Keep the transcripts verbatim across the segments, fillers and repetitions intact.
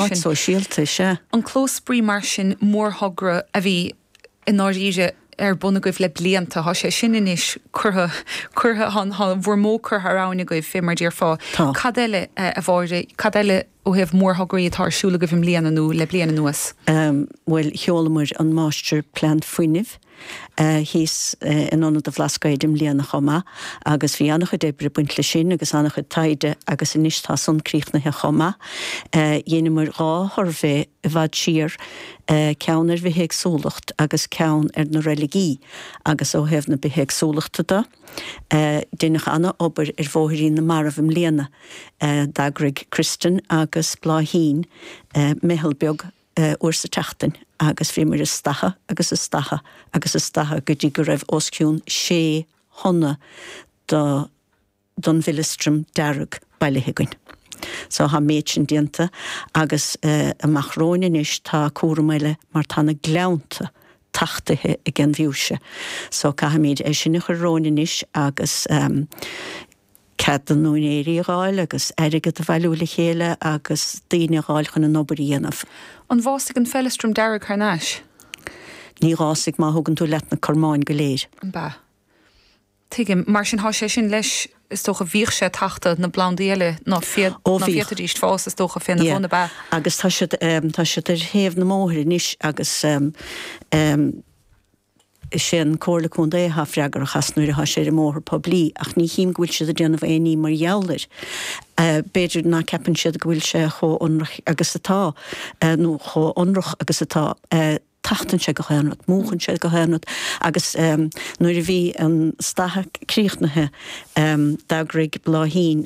Áit sóisialta, sea. An clós spraoi mar sin, mórthogra a bhí i ndáiríre ar bun agaibh le blianta, tá sé sin anois curtha, curtha, tá bhur mbó curtha thar abhainn agaibh, fé mar déarfá. Tá. Cad eile, a Mháire, cad eile ó thaobh mórthograí atá ar siúl agaibh i mbliana nó le bliain anuas? Bhuel, sheolamar an Máistirphlean Fuinnimh thíos in Ionad an Bhlascaoid i mbliana chomh maith agus bhí an-chuid oibre ag baint leis sin agus an-chuid taighde agus anois tá san críochnaithe chomh maith. Dheineamar dhá shuirbhé i bhfad siar, ceann ar bhithéagsúlacht agus ceann ar na reiligí agus ó thaobh na bithéagsúlachta de, deineadh an-obair ar Bhóithrín na Marbh i mbliana. D'eagraigh Kristin agus Bláithín meitheal beag uair sa tseachtain agus bhíomar ag stathadh agus ag stathadh agus ag stathadh go dtí go raibh os cionn sé thonna de don bhfeileastram dearg bailithe againn. So tá an méid sin déanta agus amach romhainn anois tá cúram eile mar tá na gleannta tachtaithe ag an bhfiúise. So caithfimid é sin a chur romhainn anois agus cead na n-úinéirí a dh'fháil agus airgead a bhailiú le chéile agus daoine a dh'fháil chun an obair a dhéanamh. An bhfásfaidh an feileastram dearg thar n-ais? Ní dh'fhásfaidh má thugann tú leat na cormáin go léir. An b'ea? Tuigim. Mar sin thá sé sin leis, is dócha, bhíodh sé ag tachtadh na bplandaí eile ná Ó bhíodh. féadfaidís fás, is dócha, féna Yeah. bhun, ab ea? Agus tá siad, tá siad ar thaobh na mbóithre anois agus is é an Comhairle Contae atá freagrach as nuair atá sé ar an mbóthar poiblí ach ní chím go bhfuil siad ag déanamh aon ní mar gheall air. B'fhéidir ná ceapann siad go bhfuil sé chomh ionrach agus atá, nó chomh ionrach agus atá. Tachtann sé gach aon rud, múchann sé gach aon rud agus nuair a bhí an stathadh críochnaithe d'eagraigh Bláithín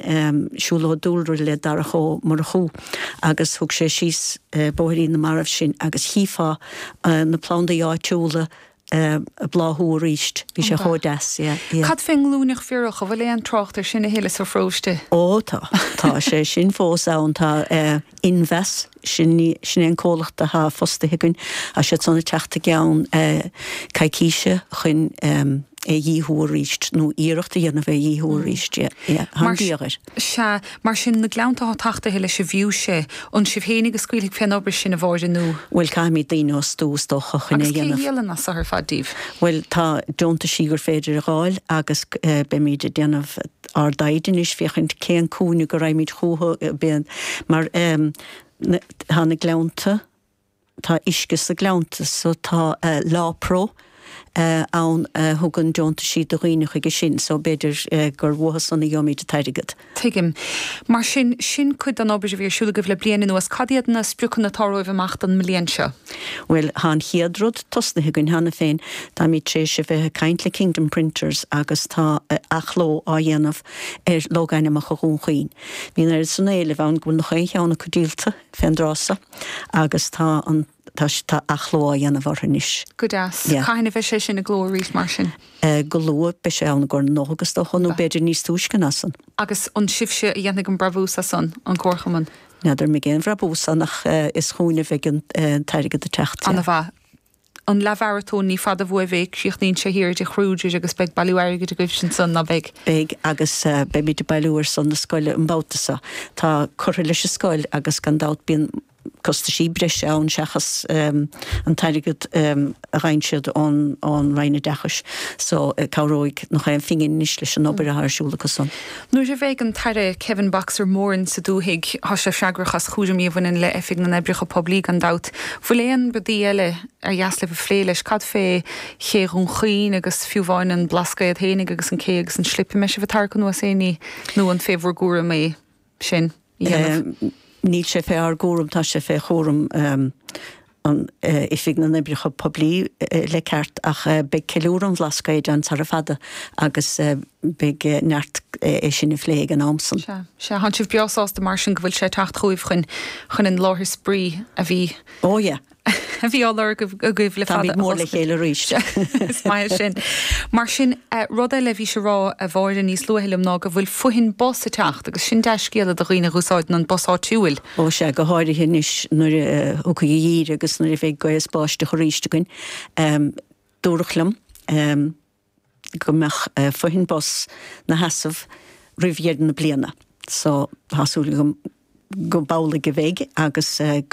siúlóid dúlra le Darach Ó Murchú agus thug sé síos Bóithrín na Marbh sinn agus chífeá na plandaí áitiúla ag bláthú arís. Bhí sé chomh deas, yeah, yeah. Cad fén nglúineach bhiorach, an bhfuil aon trácht air sin a thuilleadh sa pharóiste? Ó tá, tá sé sin fós ann, tá Inmheas, sin sin é an comhlacht atá fostaithe againn, tá siad san ag teacht i gceann coicíse chun é a dhíothú arís, nó iarracht a dhéanamh é a dhíothú arís, yeah, yeah, tá an díogha air. Sea, mar sin, na gleannta atá tachtaithe leis an bhfiúise, an sibh fhéinig a scaoilfidh fén obair sin, a Mháire, nó? Bhuel, caithfimid daoine a fhostú, is dócha, chun é a Agus cé a dhéanamh. dhíolann as so ar fad díbh? Bhuel, tá deontaisí gur féidir a dh'fháil agus beimid ag déanamh ár dtaighde anois féachaint cén cúinne go raghaimid chucu, mar tá na gleannta, tá uisce sna gleannta so tá LawPro ann a thugann deontaisí do dhaoine chuige sin so b'fhéidir gur uathu san a gheobhaimid an t-airgead. Tuigim. Mar sin, sin cuid den obair a bhí ar siúl agaibh le bliain anuas. Cad iad na spriocanna atá romhaibh amach don mbliain seo? Bhuel, tá an chéad rud tosnaithe againn cheana féin. Táimid tar éis a bheith ag caint le Kingdom Printers agus tá athchló á dhéanamh ar logainmneacha Dhún Chaoin. Bhí an oiread san éilimh ann go bhfuil nach aon cheann acu díolta fén dtráth so agus tá an tá tá athchló á dhéanamh orthu anois. Go deas. Yeah. Cathain a bheidh sé sin i gcló arís mar sin? Go luath, beidh sé ann i gcomhair na Nollag is dócha, nó b'fhéidir níos túisce ná san. Agus an sibhse a dhéanfaidh an brabús as san, an Comharchumann? N'fheadar an mbeidh aon bhrabús ann ach is chugainn a bheidh an t-airgead ag teacht, yeah. Ana-mhaith. An leathmharatón, ní fada uaibh é, críochnaíonn sé thiar i dTigh Kruger agus beidh bailiú airgid agaibh ansan, ná beidh? Beidh, agus beimid ag bailiú ar son na scoile an babhta seo. Tá curtha leis an scoil agus gan dabht bíonn costaisí breise ann seachas an t-airgead a gheibheann siad ón Roinn Oideachais so cabhróidh nach aon phingin anois leis an obair atá ar siúl acu san. Nuair a bheidh an tAire Kevin 'Boxer' Moran sa dúthaigh, tá sé freagrach as chúraimí a bhaineann le Oifig na nOibreacha Poiblí gan dabht. Bhfuil aon rudaí eile ar dheas libh a phlé leis? Cad fé Ché Dhún Chaoin agus fiú amháin an Blascaod fhéinig agus an cé agus an slip? An mbeidh sibh ag tarrac anuas aon ní nó an fé bhur gcúram é sin a dhéanamh? Níl sé fé ár gcúram, tá sé fé chúram an Oifig na nOibreacha Poiblí le ceart ach beidh ceiliúradh an Bhlascaoid ann sara fada agus beidh neart é sin a phlé ag an am san. Sea, sea. Tánn sibh breá sásta mar sin go bhfuil sé ag teacht chugaibh chun chun an láthair spraoi a bhí Ó yeah. a bhí á lorg agaibh le fada Táimid a mór le dh'oscailt. chéile arís. Is maith é sin. Mar sin, rud eile a bhís ag rá, a Mháire, níos luaithe liom ná go bhfuil fothoinn bus ag teacht agus sin dea-scéala do dhaoine a dh'úsáideann an bus áitiúil. Ó sea, go háirithe anois nuair a thiocfaidh an geimhreadh agus nuair a bheidh gaoth is báisteach arís againn. Dúradh liom go mbeadh fothoinn bus 'na sheasamh roimh dheireadh na bliana so tá súil agam Go b'amhlaidh a bheidh agus